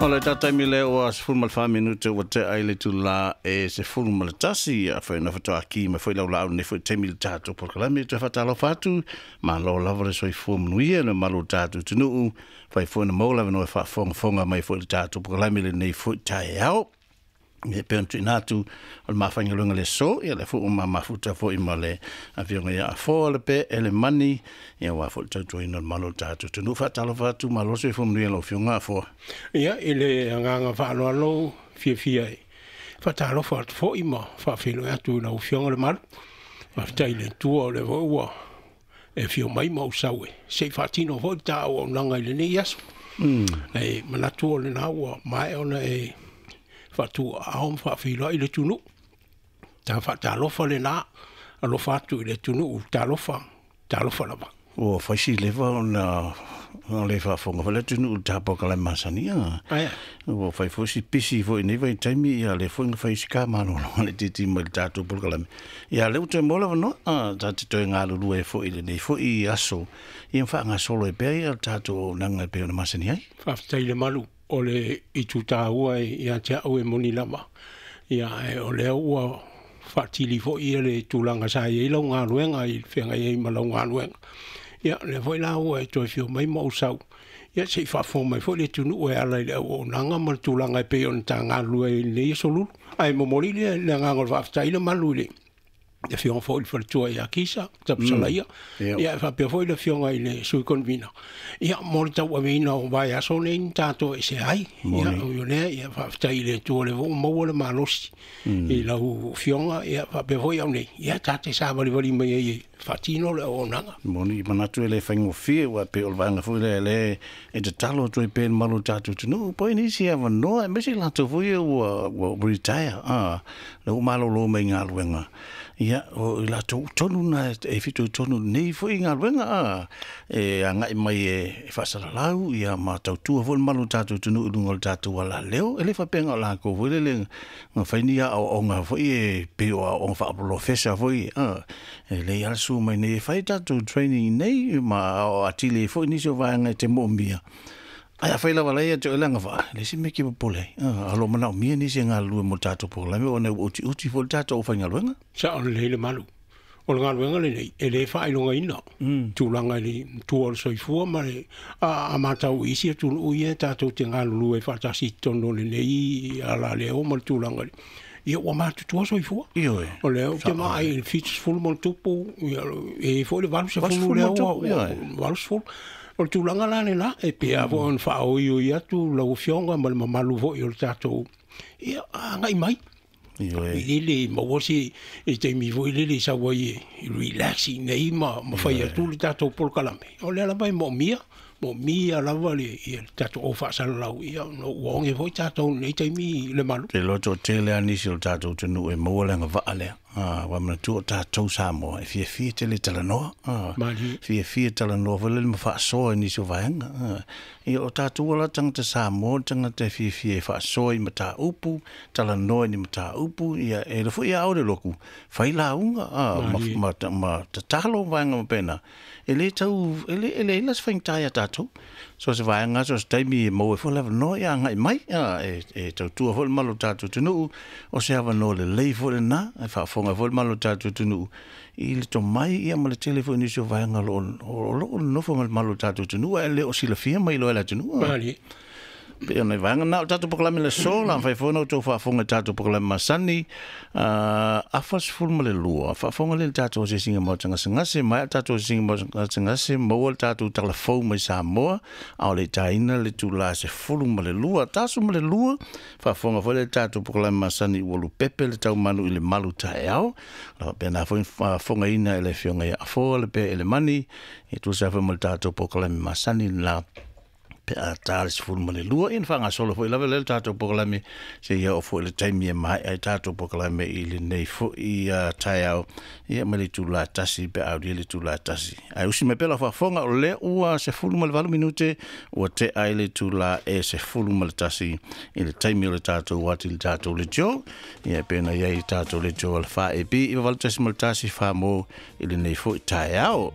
O le taimi lea ua 14 minute ua tea ai le itula e 11, afai na faatoa mai foi laulaau lenei foi taimi i le tatou polokalame. Toe faatalofa atu, malo lava le soifua manuia le mamalu o le tatou atunuu, fai foi na maua le avanoa e faafogafoga mai foi i le tatou polokalame i lenei foi taeao. E pei ona tuuina atu o le mafaigaluega le aso, ia lea foi ua mamafuta foi ma le afioga ia Afoa le Pe Elemani, ia aua foi le tautuaina o le mamalu o le tatou atunuu. Faatalofa atu, malo le soifua manuia i lau afioga Afoa. Ia, i le agaga faaaloalo fiafia e faatalofa atu foi ma faafeiloai atu i lau afioga le malu. Faafetai i le Atua o lea foi ua e afio mai ma ou sau e se i faatino foi le ta auaunaga i lenei aso. E manatu o lena ua maea ona e faatuaao ma faafeiloai le atunuu. Ta faatalofa lena, alofa atu i le atunuu, talofa, talofa lava. Ua fai si leva ona le faafofoga foi le atunuu i le tapokalame masani. Aia. Ua fai foi si pisi foi i nei vaitaimi, ia lea foi na fai si ka malolo le titi mai le tatou polokalame. Ia lea ua toe maua le avanoa, ta te toe galulue foi i lenei foi aso, ia faagasolo ai pea ia le tatou auaunaga e pei ona masani ai. Faafetai le malu o le itu taua ia te au e moni lava. Ia, o lea ua faatili foi ia le tulaga sa i ai lau galuega i le feagai ai ma lau galuega. Ia, lea foi la ua e toe fio mai ma ou sau. Ia, se i faafofoga mai foi le atunuu e ala i le auaunaga ma le tulaga e pei ona ta galulue ai i lenei aso lulu. Ae momoli le agaga o le faafetai le malu i le afioga foi i le faletua ia Kisa, Tapusalaia, ia e faapea foi le afioga i le Sui Convener. Ia, mo le tauaveina o vaiaso nei na tatou ese ai. Ia, o lea, ia, faafetai i le Atua o lea foi ua maua le malosi i lau afioga, ia, faapea foi au nei, ia, ta te savalivali mai ai e faatino le auaunaga. Moni, manatu e le faigofie, ua pei o le vaega foi lea lea e tatalo atu ai pea i le mamalu o le tatou atunuu, po o ai nisi avanoa, aemaise i latou foi ia ua retire, lea ua malolo mai galuega. Ia, o i latou tonu na e fitoitonu nei foi galuega, e agai mai e faasalalau, ia ma tautua foi le mamalu o le tatou atunuu i luga o le tatou alaleo. E le faapea na o latou foi lele na fai ni aoaoga foi e pei o aoaoga faapolofesa foi, e lei ala su mai nei e fai tatou training nei ma aoao atili ai foi nisi o vaega e te moomia. Ae afai lava lai ia te oe le agavaa, e leai se mea e te popole ai. O lo o manaomia nisi e galulue mo le tatou polokalame ona ua utiuti foi le tatou aufaigaluega. Sao lelei le malu. O le galuega lenei, e le faailogaina tulaga i le tua o le soifua ma le a matau i isi atunuu ia tatou te galulue faatasi i totonu o lenei alaleo ma le tulaga ia ua matutua soifua. Ioe. O lea ou te vaai i le 70 ma le tupu, ia, e foi le 80 lea ua 80. O le tulaga la lena, e pei foi ona faaoioi atu lau afioga ma le mamalu foi o le tatou, ia, agai mai. Ioe. I lele maua se i taimi foi lele sau ai e relax i nei ma fai atu le tatou polokalame. O lea lava e moomia, moomia lava le ia le tatou au faasalalau, ia no ua oge foi tatou nei taimi le malu. Te loa toatele lava nisi o le tatou atunuu e maua le agavaa lea. Ua manatua o tatou Samoa e fiafia tele talanoa. Fiafia talanoa foi lele ma faasoa i nisi o vaega. Ia o tatou ala tagata Samoa, tagata e fiafia e faasoa i mataupu, talanoa i ni mataupu, ia e le foi a le loku, fai lauga, ma tatalo vaega ma pena. E le tau, e le ila se faigata ia tatou. So se vaega, so se taimi e maua foi le avanoa ia agai mai, e tautua foi le mamalu o le tatou atunuu, o se avanoa lelei foi lena, e faafofoga foi le mamalu o le tatou atunuu i le tomai ia ma le tele foi nisi o vaega o lo o nonofo ma le mamalu o le tatou atunuu, ae le o silafia mai loa e le atunuu. Malie. Pei o nai vaega na o le tatou polokalame le aso, la mafai foi ona outou faafofoga i le tatou polokalame masani, 42, faafofoga lea i le tatou asiasiga maota gasegase, maea le tatou asiasiga maota gasegase, maua le tatou talafou mai Samoa, a o le itaina le itula 12, 12, faafofoga foi lea i le tatou polokalame masani ua lupepe le taumanu i le malu taeao, la faapena foi faafofogaina e le afioga ia Afoa le Pe Elemani, e tusa foi ma le tatou polokalame masani la pe a ta le 12, ia na faagasolo foi lava lea le tatou polokalame, se ia oo foi le taimi e maea ai tatou polokalame i lenei foi taeao, ia ma le itula 1 pe a aulia le itula 1. Ae usi mai pea lau faafofoga, o lea ua 18 minute ua tea ai le itula e 11 i le taimi o le tatou ati i le tatou leitio, ia e pei ona i ai le tatou leitio o le 4AB 98.1 Samoa i lenei foi taeao.